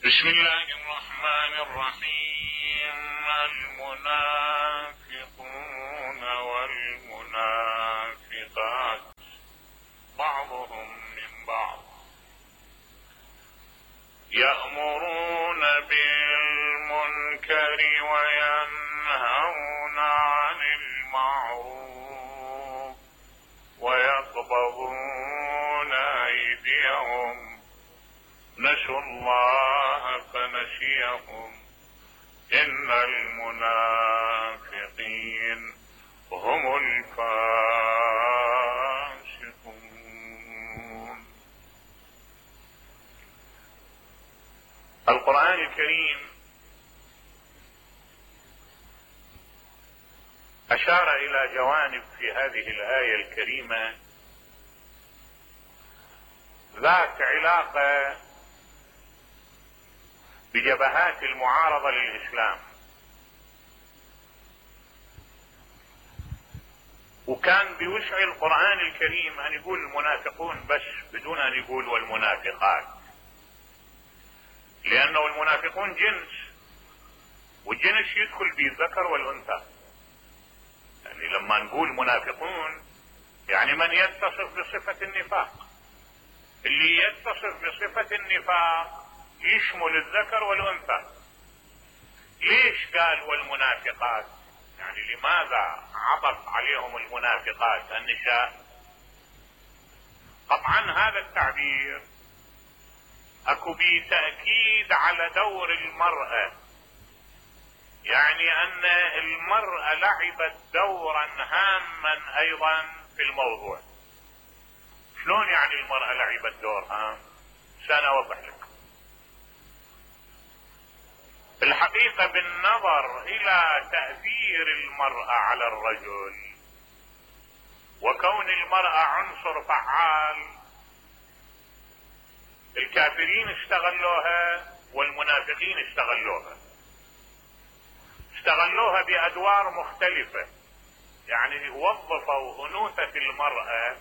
بسم الله الرحمن الرحيم. المنافقون والمنافقات بعضهم من بعض يأمرون بالمنكر وينهون عن المعروف ويقبضون أيديهم نسوا الله فنسيهم إن المنافقين هم الفاسقون. القرآن الكريم أشار إلى جوانب في هذه الآية الكريمة ذات علاقة بجبهات المعارضة للإسلام، وكان بوسع القرآن الكريم أن يقول المنافقون بس بدون أن يقول والمنافقات، لأنه المنافقون جنس، والجنس يدخل به الذكر والأنثى. يعني لما نقول منافقون يعني من يتصف بصفة النفاق، اللي يتصف بصفة النفاق يشمل الذكر والأنثى. ليش قال والمنافقات؟ يعني لماذا عطف عليهم المنافقات النساء؟ طبعا هذا التعبير اكو به تأكيد على دور المرأة، يعني ان المرأة لعبت دورا هاما ايضا في الموضوع. شلون يعني المرأة لعبت دور هام؟ سأوضح لك. الحقيقة بالنظر الى تأثير المرأة على الرجل وكون المرأة عنصر فعال، الكافرين استغلوها والمنافقين استغلوها بأدوار مختلفة. يعني وظفوا أنوثة المرأة،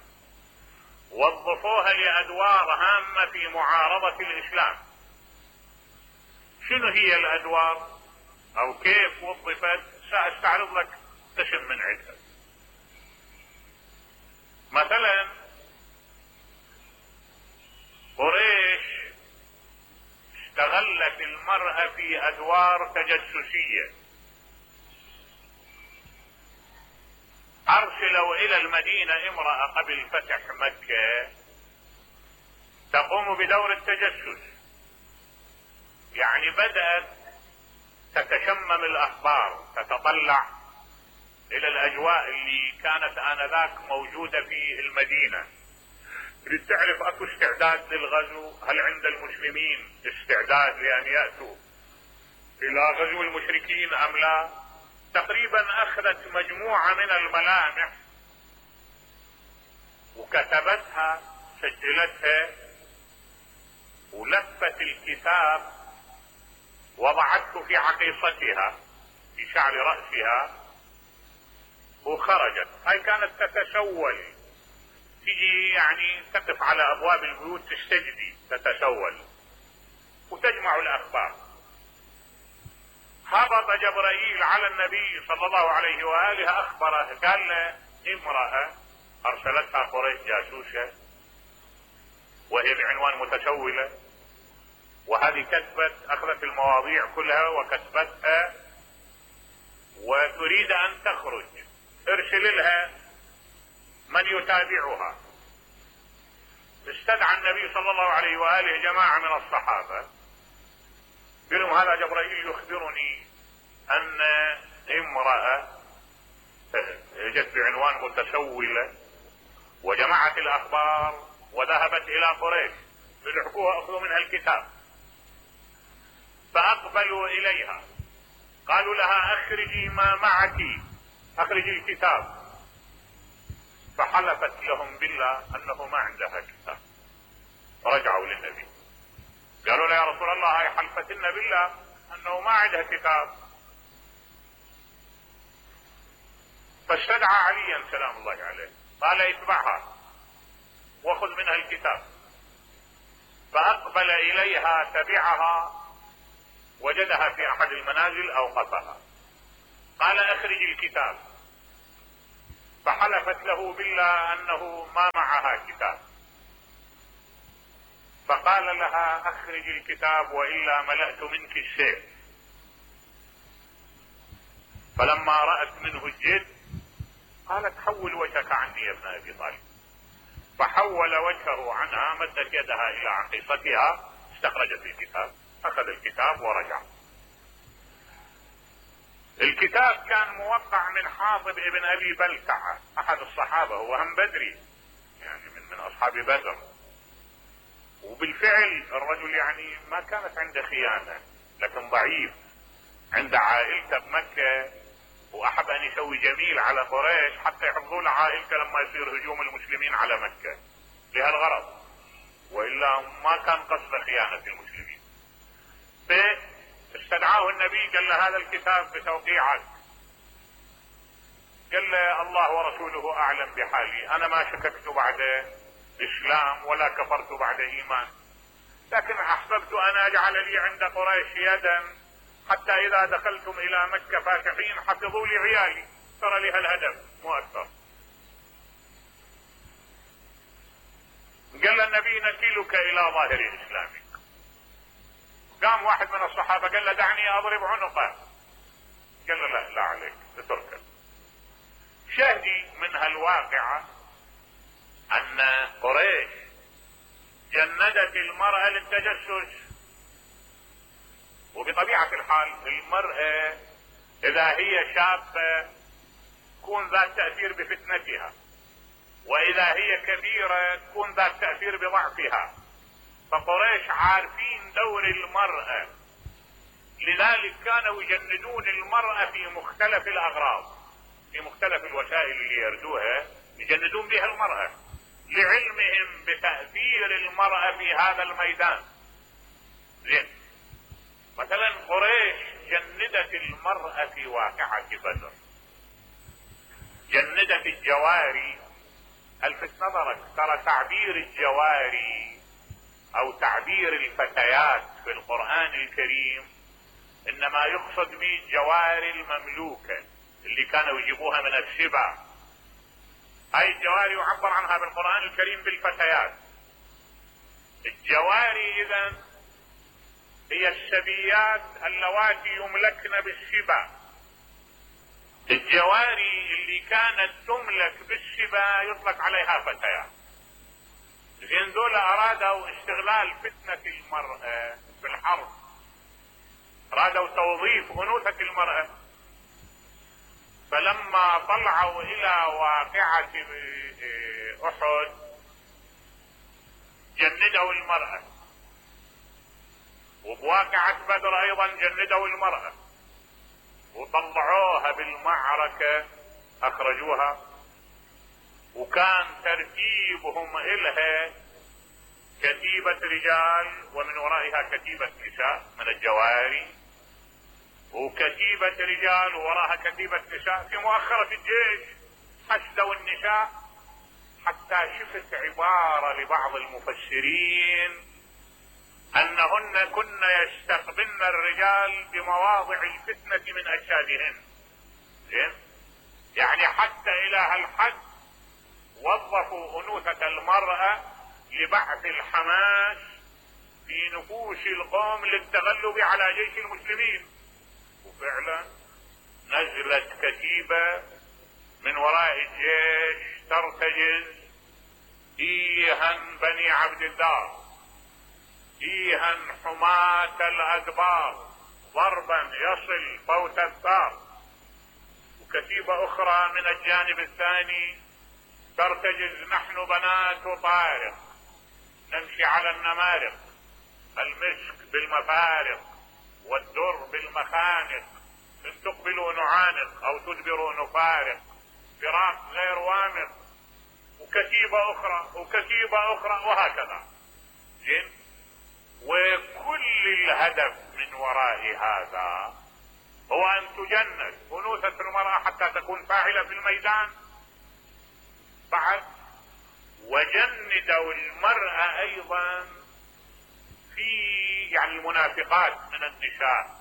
وظفوها لأدوار هامة في معارضة الإسلام. شنو هي الأدوار أو كيف وظفت؟ سأستعرض لك قسم من عدة. مثلا قريش استغلت المرأة في أدوار تجسسية. أرسلوا إلى المدينة امرأة قبل فتح مكة تقوم بدور التجسس، يعني بدأت تتشمم الأخبار، تتطلع إلى الأجواء اللي كانت آنذاك موجودة في المدينة، لتعرف أكو استعداد للغزو، هل عند المسلمين استعداد لأن يأتوا إلى غزو المشركين أم لا. تقريبا أخذت مجموعة من الملامح وكتبتها، سجلتها، ولفت الكتاب، وضعته في عقيصتها في شعر رأسها، وخرجت. هاي كانت تتسول، تجي يعني تقف على أبواب البيوت تستجدي، تتسول وتجمع الأخبار. هبط جبرائيل على النبي صلى الله عليه وآله أخبره، قال له امرأة أرسلتها قريش جاسوسة وهي بعنوان متسولة، وهذه كتبت، أخذت المواضيع كلها وكتبتها وتريد أن تخرج، ارسل لها من يتابعها. استدعى النبي صلى الله عليه وآله جماعة من الصحابة، قال لهم هذا جبرائيل يخبرني أن امرأة جت بعنوان متسولة وجمعت الأخبار وذهبت إلى قريش ليحكوها، أخذوا منها الكتاب. فأقبلوا إليها، قالوا لها أخرجي ما معك، أخرجي الكتاب. فحلفت لهم بالله أنه ما عندها كتاب. رجعوا للنبي قالوا له يا رسول الله هاي حلفتنا بالله أنه ما عندها كتاب. فاستدعى عليا سلام الله عليه، قال اتبعها واخذ منها الكتاب. فأقبل إليها تبعها وجدها في احد المنازل اوقفها، قال اخرج الكتاب، فحلفت له بالله انه ما معها كتاب، فقال لها اخرج الكتاب والا ملأت منك السيف. فلما رأت منه الجد قالت حول وجهك عني يا ابن ابي طالب، فحول وجهه عنها، مدت يدها الى عقيصتها، استخرجت الكتاب، اخذ الكتاب ورجع. الكتاب كان موقع من حاطب ابن ابي بلتعة احد الصحابة، هو هم بدري يعني من اصحاب بدر، وبالفعل الرجل يعني ما كانت عنده خيانة، لكن ضعيف عند عائلته بمكة، واحب ان يسوي جميل على قريش حتى يحفظوا له عائلته لما يصير هجوم المسلمين على مكة لهالغرض، والا ما كان قصد خيانة المسلمين. فاستدعاه النبي قال له هذا الكتاب بتوقيعك، قال له الله ورسوله اعلم بحالي، انا ما شككت بعد اسلام ولا كفرت بعد ايمان، لكن احببت ان اجعل لي عند قريش يدا حتى اذا دخلتم الى مكة فاتحين حفظوا لي عيالي، ترى لي هالهدف مو اكثر. قال النبي نكلك الى ظاهر اسلامك. قام واحد من الصحابة قال له دعني اضرب عنقه، قال له لا عليك اتركه. شاهدي من هالواقعة ان قريش جندت المرأة للتجسس، وبطبيعة الحال المرأة اذا هي شابة تكون ذات تأثير بفتنتها، واذا هي كبيرة تكون ذات تأثير بضعفها، فقريش عارفين دور المرأة، لذلك كانوا يجندون المرأة في مختلف الاغراض، في مختلف الوسائل اللي يردوها يجندون بها المرأة، لعلمهم بتأثير المرأة في هذا الميدان. زين، مثلا قريش جندت المرأة في واقعة بدر، جندت الجواري. الفت نظرك ترى تعبير الجواري او تعبير الفتيات في القرآن الكريم انما يقصد به الجواري المملوكة اللي كانوا يجيبوها من السبا، هاي الجواري يعبر عنها بالقرآن الكريم بالفتيات. الجواري اذا هي السبيات اللواتي يملكن بالسبا، الجواري اللي كانت تملك بالسبا يطلق عليها فتيات. زين، دول ارادوا استغلال فتنة المرأة في الحرب، ارادوا توظيف انوثة المرأة، فلما طلعوا الى واقعة احد جندوا المرأة، وبواقعة بدر ايضا جندوا المرأة وطلعوها بالمعركة اخرجوها، وكان ترتيبهم الها كتيبة رجال ومن ورائها كتيبة نساء من الجواري، وكتيبة رجال وراها كتيبة نساء. في مؤخرة الجيش حشدوا النساء حتى شفت عبارة لبعض المفسرين انهن كن يستقبلن الرجال بمواضع الفتنة من اجسادهن. زين، يعني حتى الى هالحد وظفوا انوثة المرأة لبعث الحماس في نفوس القوم للتغلب على جيش المسلمين. وفعلا نزلت كتيبة من وراء الجيش ترتجز ايها بني عبد الدار، ايها حماة الادبار، ضربا يصل فوت الثار. وكتيبة اخرى من الجانب الثاني ترتجز نحن بنات طارق نمشي على النمارق، المسك بالمفارق والدر بالمخانق، ان تقبلوا نعانق او تدبروا نفارق، فراق غير وامق. وكتيبة اخرى وكتيبة اخرى وهكذا. زين، وكل الهدف من وراء هذا هو ان تجند انوثة المرأة حتى تكون فاعلة في الميدان. بعد وجندوا المرأة ايضا في عن المنافقات من النساء،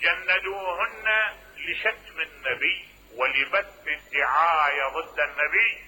جندوهن لشتم النبي ولبث الدعاية ضد النبي